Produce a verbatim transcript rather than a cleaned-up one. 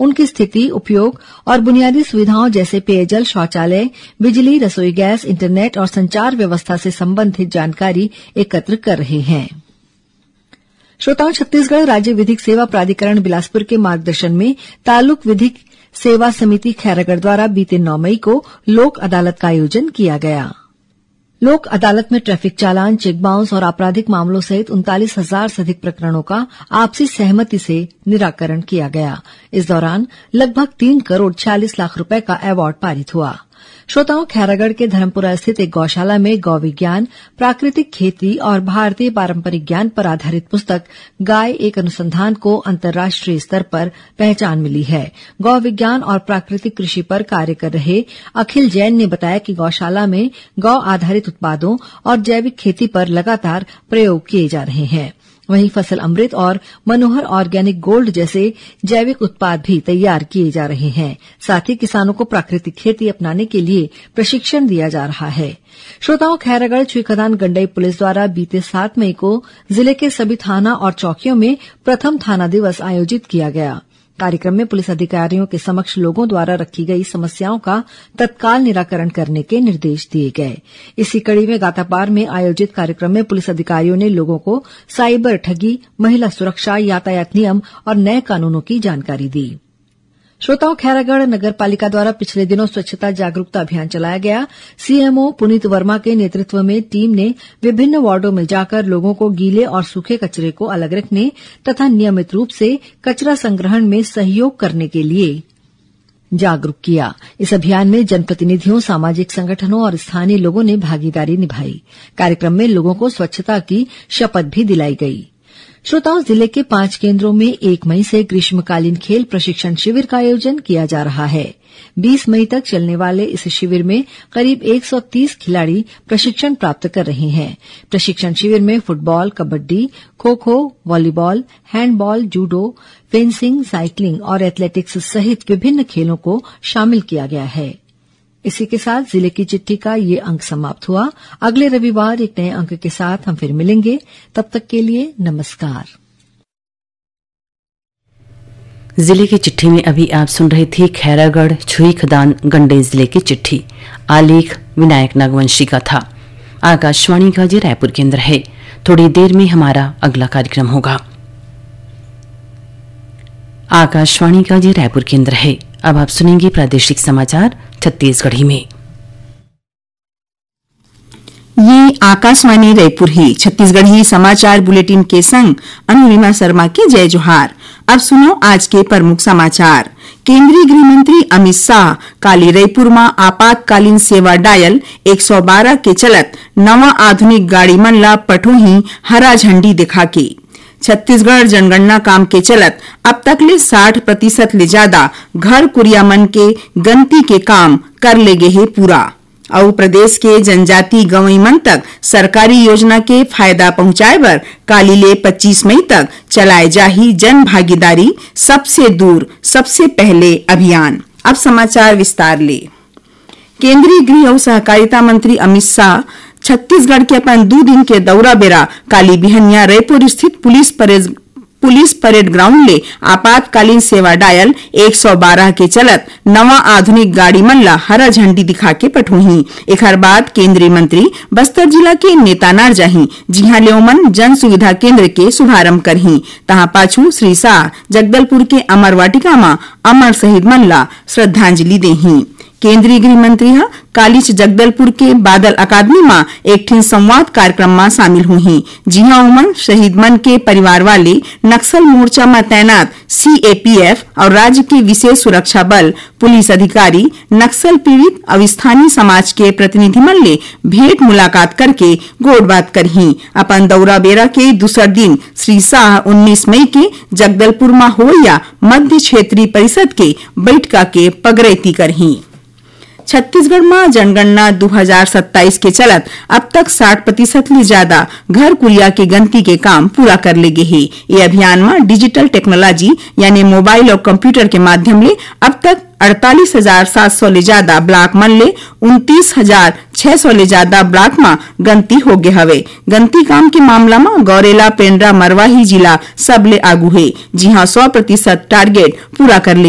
उनकी स्थिति, उपयोग और बुनियादी सुविधाओं जैसे पेयजल, शौचालय, बिजली, रसोई गैस, इंटरनेट और संचार व्यवस्था से संबंधित जानकारी एकत्र कर रहे हैं। श्रोताओं, छत्तीसगढ़ राज्य विधिक सेवा प्राधिकरण बिलासपुर के मार्गदर्शन में तालुक विधिक सेवा समिति खैरागढ़ द्वारा बीते नौ मई को लोक अदालत का आयोजन किया गया। लोक अदालत में ट्रैफिक चालान, चेक बाउंस और आपराधिक मामलों सहित उनतालीस हजार से अधिक प्रकरणों का आपसी सहमति से निराकरण किया गया। इस दौरान लगभग तीन करोड़ छियालीस लाख रुपए का अवार्ड पारित हुआ। श्रोताओं, खैरागढ़ के धर्मपुरा स्थित एक गौशाला में गौ विज्ञान, प्राकृतिक खेती और भारतीय पारंपरिक ज्ञान पर आधारित पुस्तक गाय एक अनुसंधान को अंतर्राष्ट्रीय स्तर पर पहचान मिली है। गौ विज्ञान और प्राकृतिक कृषि पर कार्य कर रहे अखिल जैन ने बताया कि गौशाला में गौ आधारित उत्पादों और जैविक खेती पर लगातार प्रयोग किए जा रहे हैं। वहीं फसल अमृत और मनोहर ऑर्गेनिक गोल्ड जैसे जैविक उत्पाद भी तैयार किए जा रहे हैं। साथ ही किसानों को प्राकृतिक खेती अपनाने के लिए प्रशिक्षण दिया जा रहा है। श्रोताओं, खैरागढ़ छुईखदान गंडई पुलिस द्वारा बीते सात मई को जिले के सभी थाना और चौकियों में प्रथम थाना दिवस आयोजित किया गया। कार्यक्रम में पुलिस अधिकारियों के समक्ष लोगों द्वारा रखी गई समस्याओं का तत्काल निराकरण करने के निर्देश दिए गए। इसी कड़ी में गातापार में आयोजित कार्यक्रम में पुलिस अधिकारियों ने लोगों को साइबर ठगी, महिला सुरक्षा, यातायात नियम और नए कानूनों की जानकारी दी। श्रोताओं, खैरागढ़ नगर पालिका द्वारा पिछले दिनों स्वच्छता जागरूकता अभियान चलाया गया। सीएमओ पुनीत वर्मा के नेतृत्व में टीम ने विभिन्न वार्डों में जाकर लोगों को गीले और सूखे कचरे को अलग रखने तथा नियमित रूप से कचरा संग्रहण में सहयोग करने के लिए जागरूक किया। इस अभियान में जनप्रतिनिधियों, सामाजिक संगठनों और स्थानीय लोगों ने भागीदारी निभाई। कार्यक्रम में लोगों को स्वच्छता की शपथ भी दिलाई गई। श्रोताओं, जिले के पांच केंद्रों में एक मई से ग्रीष्मकालीन खेल प्रशिक्षण शिविर का आयोजन किया जा रहा है। बीस मई तक चलने वाले इस शिविर में करीब एक सौ तीस खिलाड़ी प्रशिक्षण प्राप्त कर रहे हैं। प्रशिक्षण शिविर में football, kabaddi, kho kho, volleyball, handball, judo, fencing, cycling और एथलेटिक्स सहित विभिन्न खेलों को शामिल किया गया है। इसी के साथ जिले की चिट्ठी का ये अंक समाप्त हुआ। अगले रविवार एक नए अंक के साथ हम फिर मिलेंगे। तब तक के लिए नमस्कार। जिले की चिट्ठी में अभी आप सुन रहे थे खैरागढ़ छुई खदान गंडई जिले की चिट्ठी। आलेख विनायक नागवंशी का था। आकाशवाणी का ये रायपुर केंद्र है। थोड़ी देर में हमारा अगला कार्यक्रम होगा। आकाशवाणी का ये रायपुर केंद्र है। अब आप सुनेंगे प्रादेशिक समाचार छत्तीसगढ़ी में। ये आकाशवाणी रायपुर हे। छत्तीसगढ़ी समाचार बुलेटिन के संग अनुरिमा शर्मा के जय जोहार। अब सुनो आज के प्रमुख समाचार। केंद्रीय गृह मंत्री अमित शाह काली रायपुर म आपातकालीन सेवा डायल एक सौ बारह के चलत नवा आधुनिक गाड़ी मन ला पठोही हरा झंडी दिखा के। छत्तीसगढ़ जनगणना काम के चलत अब तक ले साठ प्रतिशत ले ज्यादा घर कुरिया मन के गनती के काम कर ले गे हे पूरा। अउ प्रदेश के जनजाति गंवई मन तक सरकारी योजना के फायदा पहुंचाए बर काली ले पच्चीस मई तक चलाए जाही जन भागीदारी सबसे दूर सबसे पहले अभियान। अब समाचार विस्तार ले। केंद्रीय गृह अउ सहकारिता मंत्री अमित शाह छत्तीसगढ़ के अपन दू दिन के दौरा बेरा काली बिहनिया रायपुर स्थित police parade police parade ground ले आपातकालीन सेवा डायल एक सौ बारह के चलत नवा आधुनिक गाड़ी मन ला हरा झंडी दिखा के पठोही। एखर बाद केंद्रीय मंत्री बस्तर जिला के नेतानार जाही, जिहां ले ओमन जन सुविधा केंद्र के शुभारंभ करही। तहां पाछू श्री शाह जगदलपुर के अमर वाटिका म अमर शहीद मन ला श्रद्धांजलि देही। केंद्रीय गृह मंत्री ह कालीच जगदलपुर के बादल अकादमी म एक ठिन संवाद कार्यक्रम म शामिल होही, जिहां ओमन शहीद मन के परिवार वाले, नक्सल मोर्चा म तैनात सीएपीएफ अउ राज्य के विशेष सुरक्षा बल, पुलिस अधिकारी, नक्सल पीड़ित अउ स्थानीय समाज के प्रतिनिधि मन ले भेंट मुलाकात करके गोठबात करही। अपन दौरा बेरा के दूसर दिन श्री शाह उन्नीस मई के जगदलपुर म होवइया मध्य क्षेत्रीय परिषद के बैठका के पगरैती करही। छत्तीसगढ़ म जनगणना दू हजार सत्ताईस के चलत अब तक साठ प्रतिशत ले ज्यादा घर कुरिया के गनती के काम पूरा कर ले गे हे। ये अभियान म डिजिटल टेक्नोलॉजी यानी मोबाइल अउ कंप्यूटर के माध्यम ले अब तक अड़तालीस हजार सात सौ ले ज्यादा ब्लॉक मन ले उनतीस हजार छह सौ ले ज्यादा ब्लॉक म गनती हो गे हवे। गनती काम के मामला म गौरेला, पेंड्रा, मरवाही जिला सबले आगू हे, जिहां सौ प्रतिशत टारगेट पूरा कर ले गे।